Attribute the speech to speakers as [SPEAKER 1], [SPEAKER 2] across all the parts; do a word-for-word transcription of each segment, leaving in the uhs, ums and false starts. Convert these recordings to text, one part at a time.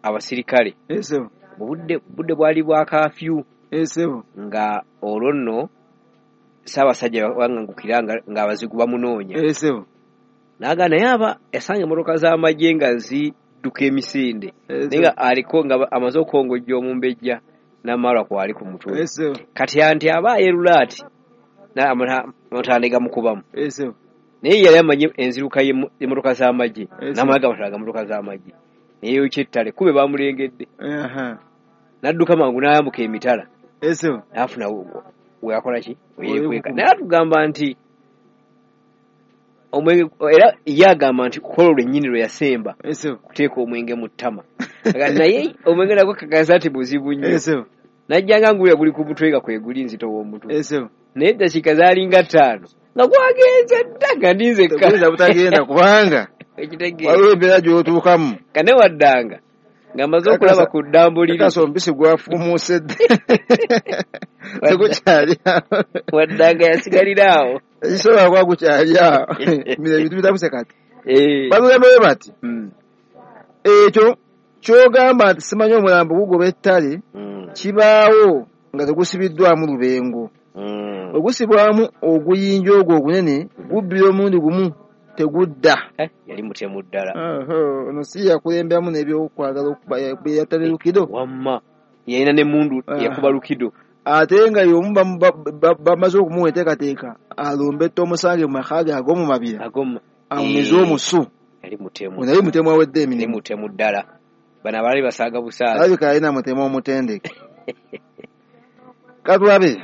[SPEAKER 1] Abasirikale mu budde budde bwali bwa kafyu, nga olwo nno Ssaabasajja wangangukira ng'abazigu bamunoonya. Naga naye aba yasanga emmotoka z'amagye nga zidduka emisinde, naye nga aliko nga amaze okukongojja omumbejja n'amalwa kwali ku mutwe. Kati anti aba ayerula ati n'amatanda gamukubamu, naye yali amanyi enziruka y'emmotoka z'amagye n'amala gamatala ga mmotoka z'amagye, neyeyokya ettale kube bamulengedde, n'adduka mangu n'ayambuka emitala n'afuna weyakola ki weyekweka. Naye atugamba nti omwenge, era ye agamba nti kukolo lwennyini lwe yasemba kuteeka omwenge mu ttama, naye omwenge nagwo kakasa nti buzibu nnyo, najjanga ngulya guli ku mutwe nga kweguli nzito w'omutwe, naye eddakiika zaalinga ttaano nga gwagenze dda nga ndinzekka
[SPEAKER 2] butagenda kubanga waliwo embeera gy'otuukamu
[SPEAKER 1] kane waddanga ng'amaze okulaba ku ddambo liri
[SPEAKER 2] kakasa omubisi gwafuumuuse dda tegukyali awo,
[SPEAKER 1] waddanga yasigalira awo,
[SPEAKER 2] ekisobola kuba gukyali awo. Bino ebintu bitabuse kati batugamba bwe bati, ekyo ky'ogamba nti simanyi omulambo gugoba ettale kibaawo nga tegusibiddwamu lubengo, ogusibwamu oguyinja ogwo ogunene gubbira omulundi gumu tegudda.
[SPEAKER 1] Yali mutemu ddala
[SPEAKER 2] ono si yakulemberamu n'ebyokwagala yatta Lukido
[SPEAKER 1] wamma yalina n'emmundu yakuba Lukido,
[SPEAKER 2] ate nga y'omu bamaze okumuwa enteekateeka alumbe omusange mu maka ge ag'omu mabira amumize omusu.
[SPEAKER 1] Yali mutemu,
[SPEAKER 2] ono yali mutemu awedde emirimu,
[SPEAKER 1] mutemu ddala. Bano abaali basaaga busaazi,
[SPEAKER 2] alabika yalina mutemu omutendeke. Katulabe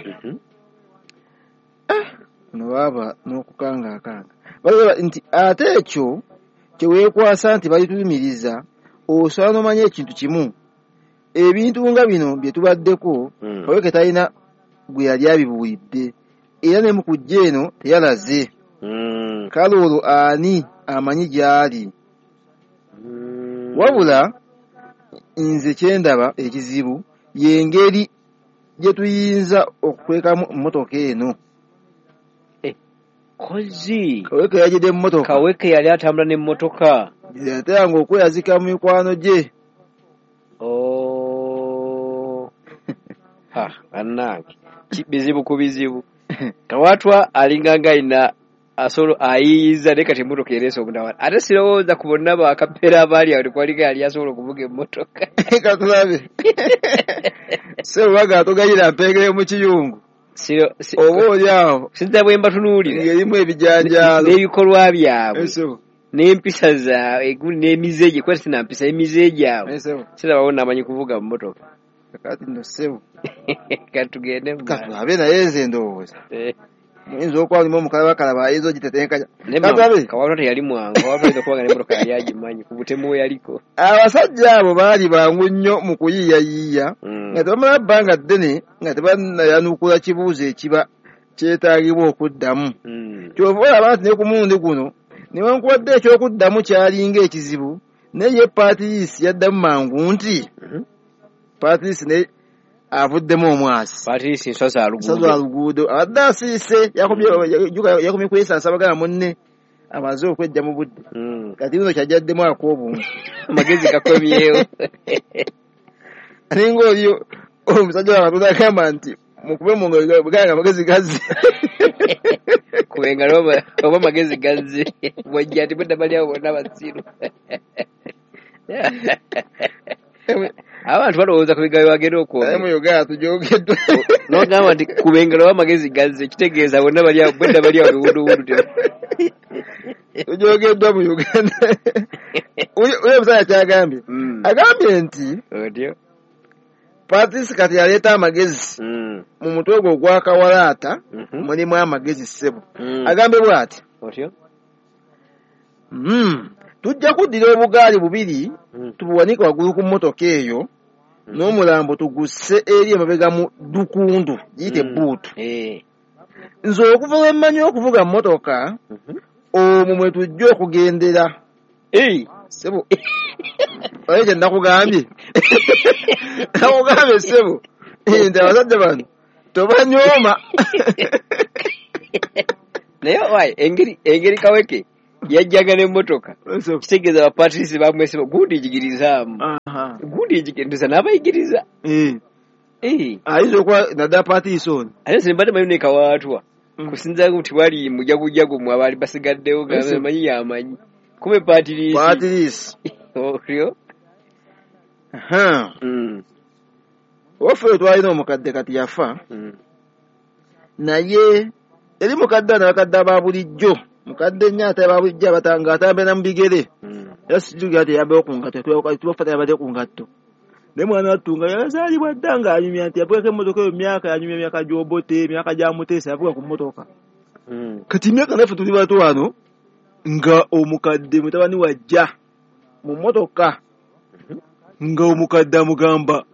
[SPEAKER 2] ono baaba n'okukanga akanga balaba nti ate ekyo kyeweekwasa nti balitulumiriza, osobola n'omanya ekintu kimu, ebintu nga bino bye tubaddeko Kaweke talina gwe yali abibuulidde, era ne mu kujja eno teyalaze. Kale olwo ani amanyi gy'ali? Wabula nze kye ndaba ekizibu y'engeri gye tuyinza okukwekamu emmotoka eno.
[SPEAKER 1] Kozi
[SPEAKER 2] Kaweke yajjidde emmotoka,
[SPEAKER 1] Kaweke yali atambula n'emmotoka,
[SPEAKER 2] yateranga okweyazika mu mikwano gye.
[SPEAKER 1] Ha, bannange bizibu ku bizibu. Kawatwa alinga nga alina asolo ayiyiza naye kati emmotoka ereese omutawaana, ate sirowooza ku bonna bakapeera abaali awo tekwaliko yali asobola okuvuga emmotoka.
[SPEAKER 2] Katulabe Sserubaga atugayira mpengere mu kiyungu oba oli awo
[SPEAKER 1] sinza bwe mbatunuulira
[SPEAKER 2] ng'erimu ebijanjaalo
[SPEAKER 1] n'ebikolwa byabwe n'empisa zaabwe n'emize gye, kuba sina mpisa emize gyabwe sirabawo namanyi kuvuga mmotoka.
[SPEAKER 2] Kati nno ssebo
[SPEAKER 1] katugende
[SPEAKER 2] katulabe, naye nze ndowooza muyinza okuba mulimu omukalabakalaba ayinza ogitetenkanya. Katulabe
[SPEAKER 1] Kawatwa teyali mwangu, Kawatwa ayinza okuba nga n'emmotoka yali agimanyi ku butemu we yaliko.
[SPEAKER 2] Abasajja abo baali bangu nnyo mu kuyiiyayiiya nga tebamala bbanga ddene nga tebannayanukula kibuuzo ekiba kyetaagibwa okuddamu. Ky'ova olaba nti ne ku mulundi guno newankubadde ekyokuddamu kyalinga ekizibu, naye ye Patrice yaddamu mangu nti Patrice naye avuddemu omwasi.
[SPEAKER 1] Patrice nsozi
[SPEAKER 2] aluguudo, aluguudo abadde asiise, yakomye kwesansa bagala munne amaze okwejja mu budde, kati bino kyajjaddemu ak'obuntu
[SPEAKER 1] amagezi gakomyewo.
[SPEAKER 2] Alinga oli omusajja wa Katonda agamba nti mukube mu ngalo buganga amagezi gazze,
[SPEAKER 1] kuba engalo oba amagezi gazze bwajja nti budda bali awo bonna basiru. Abantu balowooza ku bigambo bagenda okwogera.
[SPEAKER 2] Mu Uganda tujogeddwa.
[SPEAKER 1] N'ogamba nti kuba engalo oba amagezi gazze kitegeeza bonna bali awo bwedda bali awo biwunduwundu.
[SPEAKER 2] Tujogeddwa mu Uganda. Oyo omusajja kyagambye, agambye nti
[SPEAKER 1] otyo
[SPEAKER 2] Patrice kati yaleeta amagezi mu mutwe gwe ogwa kawalaata mulimu amagezi ssebo. Agambye bw'ati,
[SPEAKER 1] otyo
[SPEAKER 2] tujja kuddira obugaali bubiri tubuwanike waggulu ku mmotoka eyo n'omulambo tugusse eri emabega mu dukundu giyite buutu. Nze okuva lwe mmanyi okuvuga mmotoka omwo mwe tujja okugendera. Ssebo oye kye nakugambye, nakugambye ssebo nti abasajja bano tobanyooma.
[SPEAKER 1] Naye wayi engeri engeri Kaweke yajjaga n'emmotoka kitegeeza ba Patrice bamwesiba gundi njigirizaamu. Gundi egigenduza n'abayigiriza.
[SPEAKER 2] Eh.
[SPEAKER 1] Eh.
[SPEAKER 2] Ayinza okuba naddala Patrice.
[SPEAKER 1] Ate nze mbadde manyi ne Kawaatwa. Kusinza nti wali mujagujagu mu abaali basigaddewo nga manyi yamanyi. Kumbe Patrice.
[SPEAKER 2] Patrice.
[SPEAKER 1] Otyo.
[SPEAKER 2] Aha.
[SPEAKER 1] Mm.
[SPEAKER 2] Waffe twalina omukadde kati yafa.
[SPEAKER 1] Mm.
[SPEAKER 2] Naye eri mukadde n'abakadde aba bulijjo. Mukadde nnyo ate aba bulijjo abatanga atambula mu bigere.
[SPEAKER 1] Mm.
[SPEAKER 2] Era sijjukira nti yambayo ku ngatto, tubafa yabadde ku ngatto. Naye mwana wattu nga yazaalibwa dda ng'anyumya nti yavugako emmotoka eyo myaka yanyumya emyaka gy'Obote, emyaka gya Muteesa yavuga ku mmotoka.
[SPEAKER 1] Mm.
[SPEAKER 2] Kati emyaka naffe tuli bato wano nga omukadde mutabani wajja mu mmotoka nga omukadde amugamba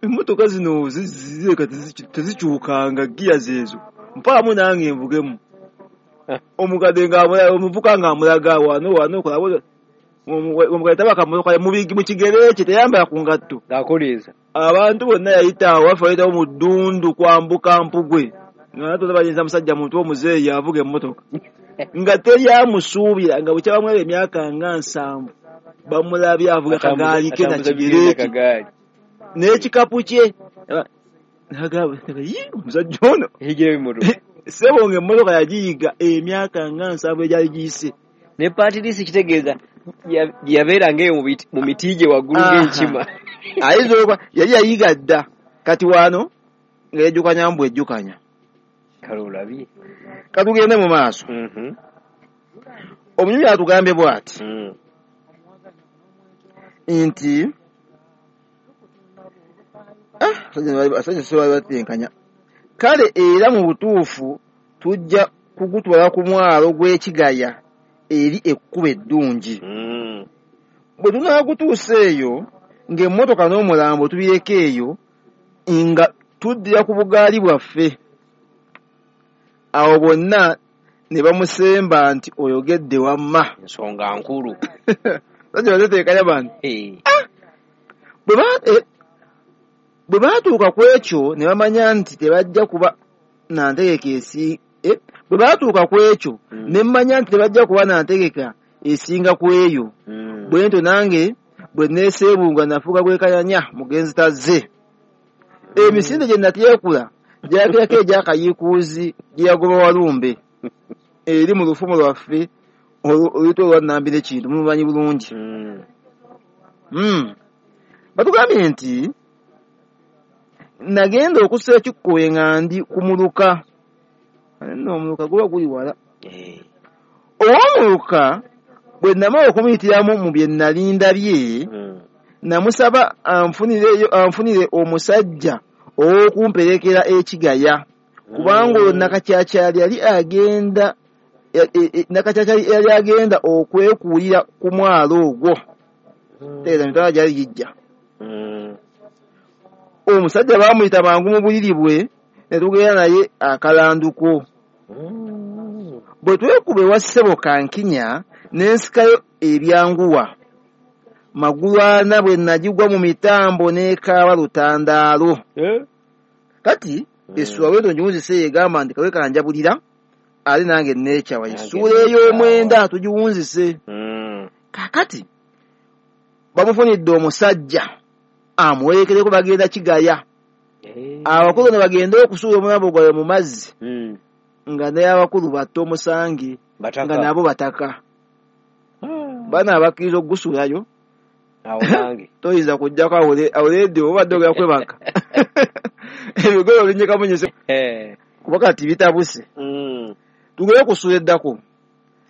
[SPEAKER 2] emmotoka zino zireka tezikyukanga ggiya zeezo mpaamu nange nvugemu. Omukadde nga omuvuka ng'amulaga wano wano kola omukadde tabaka mmotoka mu kigere kye teyambala ku ngatto.
[SPEAKER 1] Ng'akoleeza.
[SPEAKER 2] Abantu bonna yayita awo waffe bayitawo mu ddundu kwambuka Mpugwe nga natwe bayinza musajja muntu omuzeeyi avuga emmotoka nga teryamusuubira nga bwe kyabamweba emyaka nga nsanvu bamulabye avuga kagaali ke na kigere kye n'ekikapu kye. Nagamba yi omusajja ono
[SPEAKER 1] Eyigira ebimotoka.
[SPEAKER 2] Ssebo ng'emmotoka yagiyiga emyaka nga nsanvu egyali giyise.
[SPEAKER 1] Ne Patrice kitegeeza yabeeranga eyo mu miti gye waggulu ng'enkima.
[SPEAKER 2] Ayinza okuba yali yayiga dda kati wano nga yejjukanya mbu ejjukanya.
[SPEAKER 1] Kale olabye.
[SPEAKER 2] Katugende mu maaso.
[SPEAKER 1] Mhm.
[SPEAKER 2] Omunyumya atugambye bw'ati
[SPEAKER 1] Mm.
[SPEAKER 2] nti abasajja si bali batenkanya. Kale era mu butuufu tujja kugutwala ku mwalo gw'Ekigaya eri ekkubo eddungi.
[SPEAKER 1] Mm.
[SPEAKER 2] Bwe tunaagutuusa eyo ng'emmotoka n'omulambo tubireka eyo nga tuddira ku bugaali bwaffe. Awo bonna ne bamusemba nti oyogedde wamma.
[SPEAKER 1] Ensonga nkulu.
[SPEAKER 2] Abasajja batetenkanya bano.
[SPEAKER 1] Eh.
[SPEAKER 2] Bwe ba- eh, bwe baatuuka ku ekyo ne bamanya nti tebajja kuba na ntegeka esi eh, bwe baatuuka ku ekyo
[SPEAKER 1] Mm.
[SPEAKER 2] ne mmanya nti tebajja kuba na ntegeka esinga ku eyo.
[SPEAKER 1] Mm.
[SPEAKER 2] Bwe ntyo nange bwe neeseebunga nafuuka gwekayanya mugenzi tazze. Emisinde gye natyekula gyakirako egy'akayiikuuzi gye yagoba Walumbe eri mu lufumo lwaffe oluyitwa olwa Nnambi ne Kintu mulumanyi bulungi.
[SPEAKER 1] Mm.
[SPEAKER 2] Mm. Batugambye nti nagenda okussa ekikkowe nga ndi ku muluka. Nno omuluka guba guli wala.
[SPEAKER 1] Eh.
[SPEAKER 2] Ow'omuluka bwe namala okumuyitiramu mu bye nali ndabye
[SPEAKER 1] Mm.
[SPEAKER 2] namusaba anfunireyo anfunire omusajja ow'okumperekera Ekigaya kubanga olwo Nakacyakyali yali agenda e- e- e- Nakacyakyali yali agenda okwekuulira ku mwalo ogwo.
[SPEAKER 1] Mm.
[SPEAKER 2] Tegeeza emitwalo gyali gijja.
[SPEAKER 1] Mm.
[SPEAKER 2] Omusajja baamuyita mangu mu buliri bwe ne tugenda naye akalanduko.
[SPEAKER 1] Mm.
[SPEAKER 2] Bwe twekuba ewa ssebo Kankinya ne nsikayo ebyanguwa. Magulu ana bwe nagigwa mu mitambo n'ekaaba lutandaalo.
[SPEAKER 1] Eh?
[SPEAKER 2] Kati essuula bwetyo ngiwunzise egamba nti kawe kanjabulira ate nange neekyawa.
[SPEAKER 1] Nange
[SPEAKER 2] Essuula ey'omwenda tugiwunzise.
[SPEAKER 1] Mm.
[SPEAKER 2] Kaakati bamufunidde omusajja amuwerekereko bagenda Kigaya.
[SPEAKER 1] Eh.
[SPEAKER 2] Abakulu ne bagenda okusuula omulambo gwabwe mu mazzi
[SPEAKER 1] Mm.
[SPEAKER 2] nga naye abakulu batta omusange
[SPEAKER 1] Bataka.
[SPEAKER 2] nga nabo bataka.
[SPEAKER 1] Ah.
[SPEAKER 2] Bano abakkiriza okugusuulayo
[SPEAKER 1] Awo nange.
[SPEAKER 2] toyinza kujjako awuledde obadde ogenda kwebaka. Ebigolo binyikamunyise
[SPEAKER 1] Eh.
[SPEAKER 2] kuba kati bitabuse.
[SPEAKER 1] Mm.
[SPEAKER 2] Tugende ku ssuula eddako.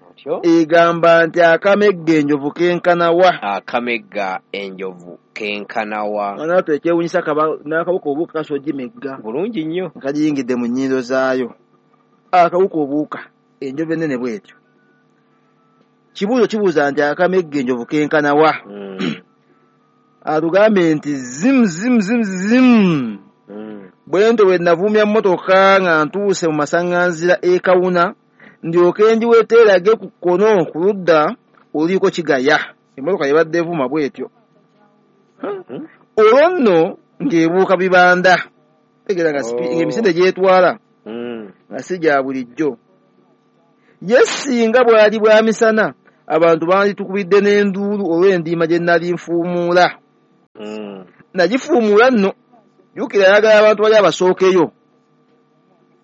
[SPEAKER 1] Otyo.
[SPEAKER 2] Egamba nti akamegga enjovu kenkana wa.
[SPEAKER 1] Akamegga enjovu kenkana wa.
[SPEAKER 2] Mwana wattu ekyewuunyisa n'akawuka obuuka kasobola ogimegga.
[SPEAKER 1] Bulungi nnyo.
[SPEAKER 2] Nga kagiyingidde mu nnyindo zaayo. Akawuka obuuka enjovu ennene bw'etyo. Kibuuzo kibuuza nti akamegga enjovu kenkana wa.
[SPEAKER 1] Mm.
[SPEAKER 2] Atugambye nti zimu zimu zimu zimu.
[SPEAKER 1] Mm.
[SPEAKER 2] Bwe ntyo bwe navuumya mmotoka nga ntuuse mu masaŋŋanzira e Kawuna ndyoke ngiweteerage ku kkono ku ludda oluliko Kigaya. Emmotoka yabadde evuuma bw'etyo.
[SPEAKER 1] Mm.
[SPEAKER 2] Olwo nno ng'ebuuka bibanda. Tegeera nga sipi-
[SPEAKER 1] Oh.
[SPEAKER 2] ng'emisinde gy'etwala
[SPEAKER 1] Mm.
[SPEAKER 2] nga si gya bulijjo. Ye singa bwali bwa misana abantu banditukubidde n'enduulu olw'endiima gye nali nfuumuula.
[SPEAKER 1] Mm.
[SPEAKER 2] Nagifuumula nno, jjukira ayagala abantu bali abasookeyo,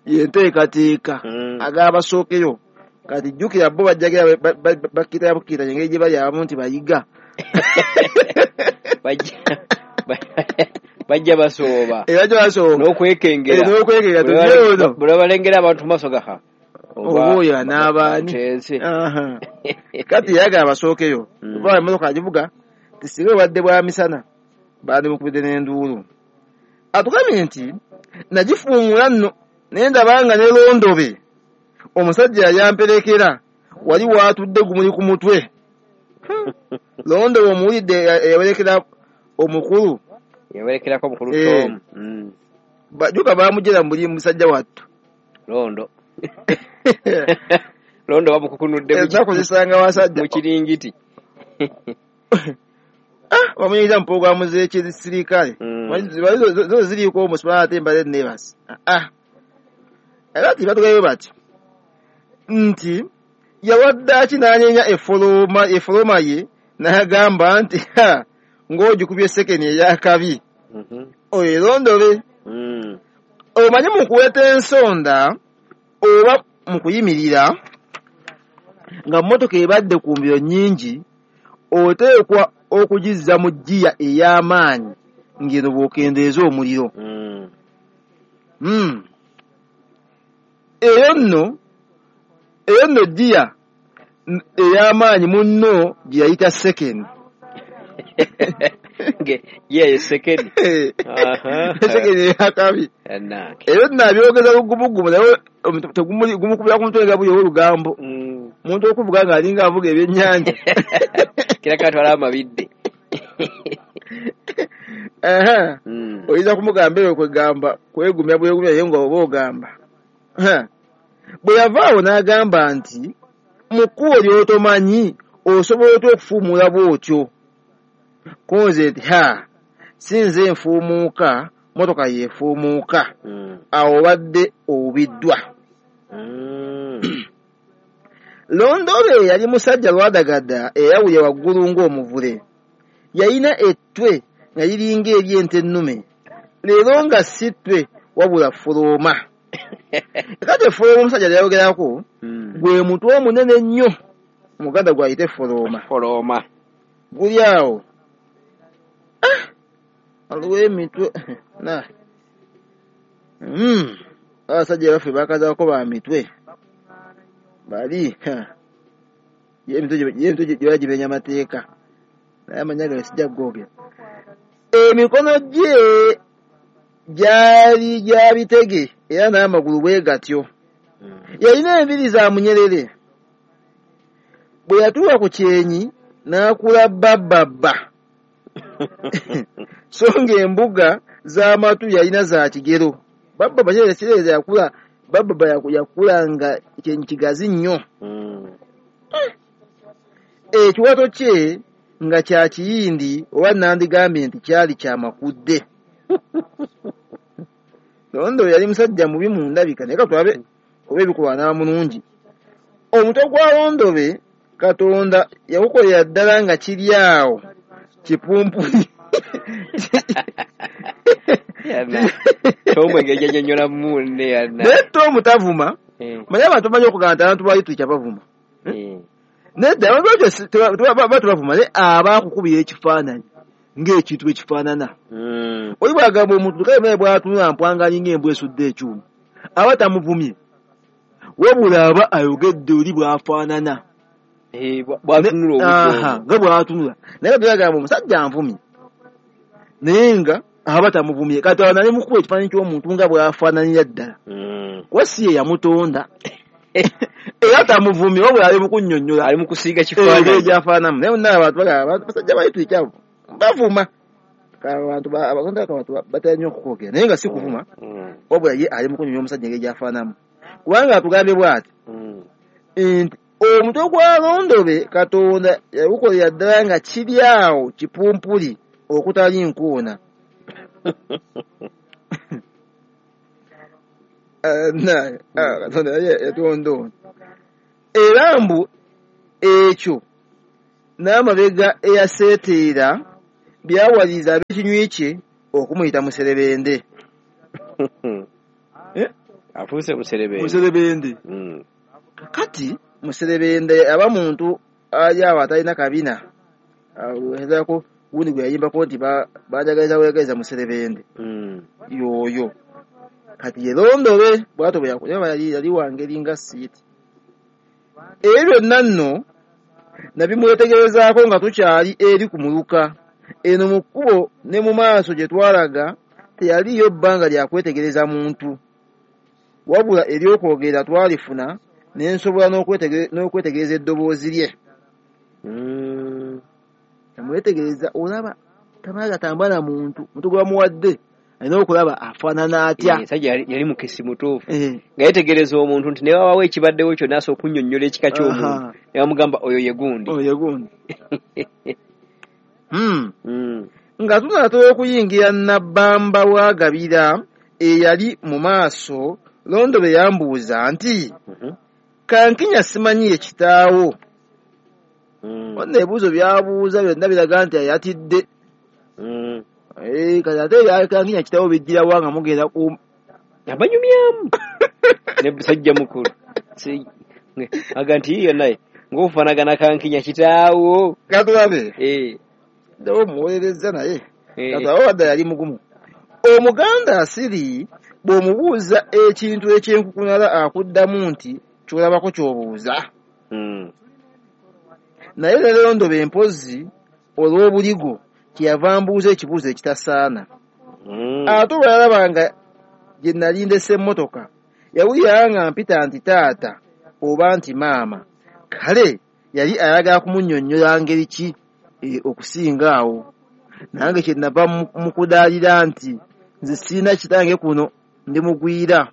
[SPEAKER 2] yenteekateeka
[SPEAKER 1] Mm.
[SPEAKER 2] agala abasookeyo. Kati jjukira bo bajjagira bakkira bukkira engeri gye bali abamu nti bayiga.
[SPEAKER 1] Bajja bajja basooba.
[SPEAKER 2] Era bajja basooba.
[SPEAKER 1] N'okwekengera.
[SPEAKER 2] Eh, n'okwekengera,
[SPEAKER 1] Bwe
[SPEAKER 2] tujje ono.
[SPEAKER 1] bwe balengera abantu mu maaso gaha.
[SPEAKER 2] Oba oyo anaabaani.
[SPEAKER 1] Nteese.
[SPEAKER 2] Aha. Kati yayagala abasookeyo.
[SPEAKER 1] Mm.
[SPEAKER 2] Kuba emmotoka agivuga, nti singa obadde bwa misana, bandimukubidde n'enduulu. Atugambye nti nagifuumula nno, naye ndaba nga ne Londobe omusajja yali amperekera wali waatudde gumuli ku mutwe. Londobe omuwulidde eyawerekera omukulu.
[SPEAKER 1] Yawerekerako omukulu
[SPEAKER 2] Eh.
[SPEAKER 1] Tom. Mm.
[SPEAKER 2] Jjuka baamuggyera mu buli musajja wattu.
[SPEAKER 1] Londo. Londo bamukukunudde mu
[SPEAKER 2] Ennaku zisanga wasajja.
[SPEAKER 1] mu kiringiti.
[SPEAKER 2] Ah, bamuyingiza mu pulogulaamu z'ekisirikale.
[SPEAKER 1] Mm.
[SPEAKER 2] Manyi zo ziriiko omusumba ate mbadde neebase. Ah. Era ti batugambye bati nti yawadde aki n'anyeenya efolooma, efolooma ye n'agamba nti ha, ng'ogikubye sekeni ey'akabi.
[SPEAKER 1] Mhm.
[SPEAKER 2] Oyo Londobe.
[SPEAKER 1] Mm.
[SPEAKER 2] Omanyi mu kuweta ensonda oba mu kuyimirira nga mmotoka ebadde ku mbiro nnyingi, oteekwa okugizza mu ggiya ey'amaanyi ng'eno bw'okendeeza omuliro.
[SPEAKER 1] Mm.
[SPEAKER 2] Mm. Eyo nno, eyo nno ggiya ey'amaanyi munno gye yayita sekeni.
[SPEAKER 1] Nge, ye ye sekeni. Aha.
[SPEAKER 2] Sekeni ey'akabi.
[SPEAKER 1] Annange.
[SPEAKER 2] Eyo nno abyogeza lugumugumu naye tegumuli gumukubira ku mutwe nga buli olugambo.
[SPEAKER 1] Mm.
[SPEAKER 2] Omuntu okuvuga ng'alinga avuga ebyennyanja.
[SPEAKER 1] Kiraka atwala amabidde.
[SPEAKER 2] Aha.
[SPEAKER 1] Mm.
[SPEAKER 2] Oyinza kumugamba eyo kwegamba, kwegumya bwegumya naye nga oba ogamba. Ha. Bwe yavaawo n'agamba nti mu kkubo ly'otomanyi osobola otya okufuumuula bw'otyo? Konze nti ha, si nze nfuumuuka, mmotoka yeefuumuuka.
[SPEAKER 1] Mm.
[SPEAKER 2] Awo obadde obubiddwa.
[SPEAKER 1] Mm.
[SPEAKER 2] Londobe yali musajja lwadagada eyawulya waggulu ng'omuvule. Yalina ettwe nga liringa ery'ente ennume. Leero nga si ttwe wabula folooma. Kati efolooma omusajja lyayogerako
[SPEAKER 1] Mm.
[SPEAKER 2] gwe mutwe omunene ennyo Muganda gw'ayita efolooma.
[SPEAKER 1] Folooma.
[SPEAKER 2] Guli awo. Ah! Waliwo emitwe. Na. Mm. Abasajja baffe bakazaako ba mitwe. Bali. Ha. Ye emitwe gye, ye emitwe gye bagimenya amateeka. Naye amannya gange sijja kugoogera. Emikono gye gyali gya bitege era n'amagulu bwe gatyo.
[SPEAKER 1] Mm.
[SPEAKER 2] Yalina enviiri za munyerere. Bwe yatuuka ku kyenyi n'akula babbabba. So ng'embuga z'amatu yalina za kigero. Babbabba kyereere kyereere yakula, babbabba yakula nga kyenyi kigazi nnyo.
[SPEAKER 1] Mm.
[SPEAKER 2] Ekiwato kye nga kya kiyindi oba nandigambye nti kyali kya makudde. Londo yali musajja mubi mu ndabika naye katulabe oba ebikolwa n'aba mulungi. Omutwe gwa Londobe Katonda yagukolera ddala nga kiri awo kipumpuli.
[SPEAKER 1] Yanna. Tomu engeri gy'annyonnyola munne yanna.
[SPEAKER 2] Naye Tomu tavuma.
[SPEAKER 1] Eh.
[SPEAKER 2] Manyi abantu bamanyi okugamba nti abantu ba Litwica bavuma.
[SPEAKER 1] Eh.
[SPEAKER 2] Nedda abantu batyo si-, teba-, teba-, ba-, tebavuma naye aba akukubira ekifaananyi ng'ekintu bwe kifaanana.
[SPEAKER 1] Mm.
[SPEAKER 2] Oli bw'agamba omuntu kale naye bw'atunula mpwanga alinga embwa esudde ekyuma, aba tamuvumye, wabula aba ayogedde oli bw'afaanana.
[SPEAKER 1] Eh, bwa-, bw'atunula obudde
[SPEAKER 2] Aha,
[SPEAKER 1] obwo.
[SPEAKER 2] nga bw'atunula. Naye kati agamba omusajja anvumye, naye nga aba tamuvumye. Kati awo nali mukuba ekifaananyi ky'omuntu nga bw'afaananira ddala.
[SPEAKER 1] Mm.
[SPEAKER 2] Kuba si ye yamutonda. Era tamuvumye, wabula ali mu kunnyonnyola.
[SPEAKER 1] Ali mu kusiiga
[SPEAKER 2] Eh,
[SPEAKER 1] kifaananyi.
[SPEAKER 2] engeri gy'afaananamu. Naye bonna abantu bagamba, abantu basajja ba Litwica abo bavuma. Abantu ba-, abantu abantu batera nnyo okukwogera, naye nga si kuvuma.
[SPEAKER 1] Mm.
[SPEAKER 2] Wabula ye ali mu kunnyonnyola omusajja engeri gy'afaananamu. Kubanga atugambye bw'ati,
[SPEAKER 1] Mm.
[SPEAKER 2] nti omutwe gwa Londobe Katonda yagukolera ddala nga kiri awo kipumpuli okutali nkoona. Eh, na, ah, Katonda yali yatonda ono. Era mbu ekyo n'amabega eyaseeteera byawaliriza ab'ekinywi kye okumuyita Muserebende. Eh?
[SPEAKER 1] Afuuse Muserebende.
[SPEAKER 2] Muserebende.
[SPEAKER 1] Mm.
[SPEAKER 2] Kati Muserebende aba muntu ali awo atalina kabina. Awerako gundi gwe yayimbako nti banjagaliza bweyagaliza Muserebende.
[SPEAKER 1] Mm.
[SPEAKER 2] Yoyo. Kati ye Londobe bw'atyo bwe yakola yali yali wangeri nga siiti. Ebyo byonna nno nabimwetegerezaako nga tukyali eri ku muluka. Eno mu kkubo ne mu maaso gye twalaga teyaliyo bbanga lya kwetegereza muntu. Wabula ery'okwogera twalifuna ne nsobola n'okwetegereza eddoboozi lye.
[SPEAKER 1] Mm.
[SPEAKER 2] Amwetegereza olaba tamala gatambala muntu, muntu gwe bamuwadde alina okulaba afaanana atya.
[SPEAKER 1] Musajja yali mukesi mutuufu.
[SPEAKER 2] Eh.
[SPEAKER 1] Nga yeetegereza omuntu nti ne wabawo ekibaddewo kyonna asobola okunnyonnyola ekika ky'omuntu. Ne bamugamba oyo ye gundi.
[SPEAKER 2] Oyo ye gundi. Hmm.
[SPEAKER 1] Mm.
[SPEAKER 2] Nga tunaatera okuyingira Nabbamba wa Gabira eyali mu maaso, Londobe yambuuza nti
[SPEAKER 1] mm-hmm.
[SPEAKER 2] Kankinya simanyi ye kitaawo.
[SPEAKER 1] Mm.
[SPEAKER 2] Wonna ebibuuzo by'abuuza byonna biraga nti ayatidde.
[SPEAKER 1] Mm.
[SPEAKER 2] Eh, kati ate Kankinya kitaawo bijjirawa nga mugenda ku
[SPEAKER 1] abanyumyamu ne musajja mukulu. Si aga nti iyo naye ng'ofaanagana Kankinya kitaawo.
[SPEAKER 2] Katulabe.
[SPEAKER 1] Eh.
[SPEAKER 2] Ddawo muwolerezza naye.
[SPEAKER 1] Eh.
[SPEAKER 2] Katulabe wadde yali mugumu. Omuganda asiri bw'omubuuza ekintu ekyenkukunala akuddamu nti ky'olabako ky'obuuza.
[SPEAKER 1] Mm.
[SPEAKER 2] Naye ne Londobe mpozzi olw'obuligo kyeyava mbuuza ekibuuzo ekitasaana.
[SPEAKER 1] Mm.
[SPEAKER 2] Ate bwe yalaba nga gye nali ndese emmotoka, yawulira nga mpita nti taata oba nti maama. Kale yali ayagala kumunnyonnyola ngeri ki e, okusinga awo. Nange kye nava mu kudaalira nti nze sirina kitange kuno ndi mugwira.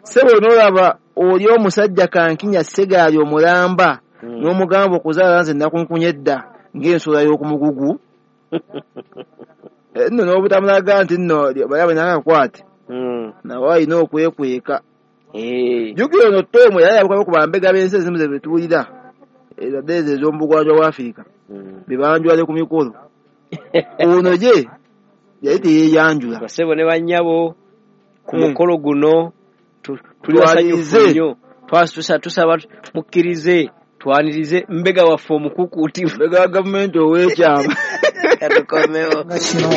[SPEAKER 2] Ssebo n'olaba oli omusajja Kankinya Ssegaali omulamba
[SPEAKER 1] Mm.
[SPEAKER 2] n'omugamba okuzaala nze nakunkunye edda ng'ensula y'okumugugu. Nno n'obutamulaga nti nno bali nakakwate
[SPEAKER 1] Mm.
[SPEAKER 2] nawe alina okwekweka.
[SPEAKER 1] Eh.
[SPEAKER 2] Jjukira ono Tom yali yabukako ku bambega b'ensi ezimu ze betuwulira ezadde ezo ez'omubugwanjuba bwa Afirika
[SPEAKER 1] Mm.
[SPEAKER 2] be banjula ne ku mikolo. Ono ye yali teyeeyanjula.
[SPEAKER 1] Bassebo ne bannyabo ku
[SPEAKER 2] Mm.
[SPEAKER 1] mukolo guno tuli basanyufu nnyo. Tusaba mukkirize twanirize mbega waffe omukukuutivu.
[SPEAKER 2] Mbega wa gavumenti ow'ekyama.
[SPEAKER 1] Katukomewo.
[SPEAKER 3] Nga kino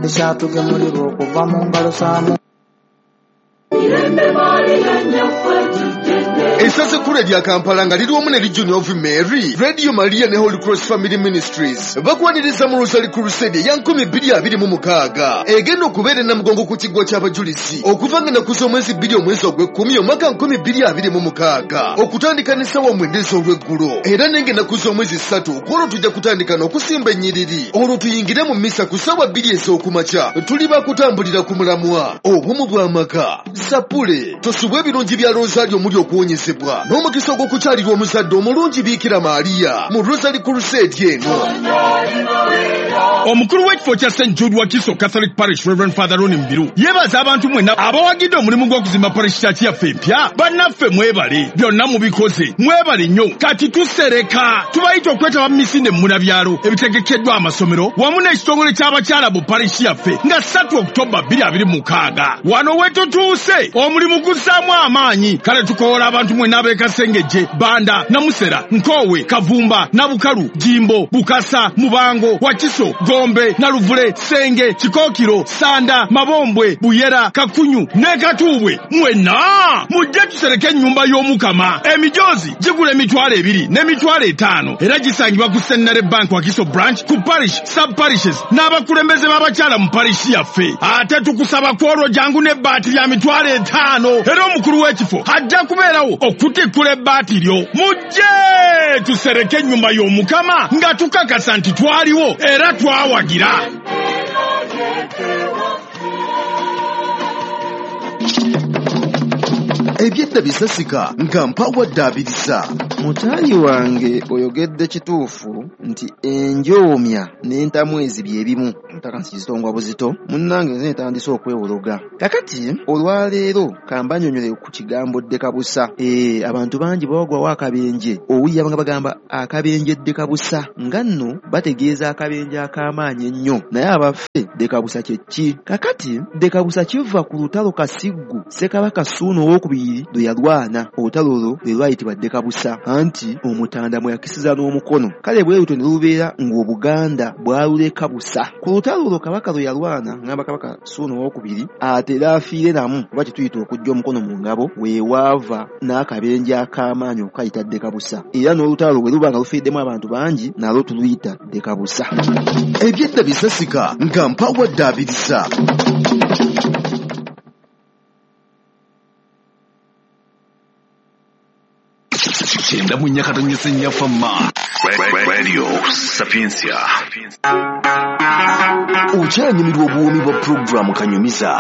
[SPEAKER 3] ekyatugemulirwa okuva mu ngalo za
[SPEAKER 4] Essaza ekkulu erya Kampala nga liri wamu ne Legion of Mary, Radio Maria ne Holy Cross Family Ministries bakwaniriza mu Rosary Crusade eya nkumi bbiri abiri mu mukaaga egenda okubeera e Namugongo ku kiggwa ky'abajulizi okuva nga ennaku z'omwezi bbiri omwezi ogw'ekkumi omwaka nkumi bbiri abiri mu mukaaga okutandika n'essaawa mwenda ez'olweggulo era n'enga ennaku z'omwezi ssatu ku olwo tujja kutandika n'okusimba ennyiriri olwo tuyingire mu mmisa ku ssaawa bbiri ez'okumakya. Tuli bakutambulira ku mulamwa obumu bw'amaka. Sapule tosubwa ebirungi bya Rosario omuli okuwonyezebwa n'omukisa ogw'okukyalirwa omuzadde omulungi Biikira Maria mu Rosary Crusade eno.
[SPEAKER 5] Omukulu w'ekifo kya Saint Jude Wakiso Catholic Parish Reverend Father Ronnie Mbiru yeebaza abantu mwenna abawagidde omulimu gw'okuzimba parish church yaffe empya. Bannaffe mwebale, byonna mubikoze, mwebale nnyo. Kati tusereka tubayita okwetaba mu misinde mmunabyalo ebitegekeddwa amasomero wamu n'ekitongole ky'abakyala mu parish yaffe nga ssatu Oktoba bbiri abiri mu mukaaga. Wano we tutuuse omulimu guzzaamu amaanyi. Kale tukoola abantu mwenna ab'e Kasengejje, Banda, Namusera, Nkoowe, Kavumba, Nabukalu, Jimbo, Bukasa, Mubango, Wakiso, Gombe, Naluvule, Senge, Kikookiro, Sanda, Mabombwe, Buyera, Kakunyu ne Katuubwe. Mwenna mujje tusereke ennyumba y'Omukama. Emijoozi gigula emitwalo ebiri n'emitwalo etaano era gisangibwa ku Centenary Bank Wakiso Branch, ku parish, sub parishes n'abakulembeze b'abakyala mu parish yaffe. Ate tukusaba ku olwo jangu n'ebbaati lya mitwalo etaano era omukulu w'ekifo ajja kubeerawo okutikkula ebbaati lyo. Mujje tusereke ennyumba y'Omukama nga tukakasa nti twaliwo era twawagira.
[SPEAKER 4] Ebyedda bisasika nga mpawadde abiriza.
[SPEAKER 2] Mutayi wange oyogedde kituufu nti enjoomya n'entamwezi bye bimu. Otaka nsizitongwa buzito munnange nze ntandise okwewologa. Kakati olwaleero kambanyonyole ku kigambo ddekabusa. Eh, abantu bangi bawagwawo akabenje, owulira nga bagamba akabenje ddekabusa, nga nno bategeeza akabenje ak'amaanyi ennyo. Naye abaffe ddekabusa kye ki? Kakati ddekabusa kiva ku lutalo Kasiggu Ssekabaka Ssuuna Owookubiri lwe yalwana. Olutalo olwo lwe lwayitibwa ddekabusa, anti omutanda mwe yakisiza n'omukono. Kale bwe lutyo ne lubeera ng'Obuganda bwaluleka busa. Ku lutalo olwo Kabaka lwe yalwana, ngamba Kabaka Ssuuna Owookubiri, atera afiire namu oba kye tuyita okuggya omukono mu ngabo, weewaava n'akabenje ak'amaanyi okukayita ddekabusa. Era n'olutalo bwe luba nga lufiiriddemu abantu bangi, nalwo tuluyita ddekabusa.
[SPEAKER 4] Ebyedda bisasika nga mpawadde abirisa. Kyenda mu nnya katonyese nnya Fama.
[SPEAKER 6] Radio Sapientia.
[SPEAKER 4] Okyanyumirwa obuwoomi bwa pulogulaamu Kanyumiza.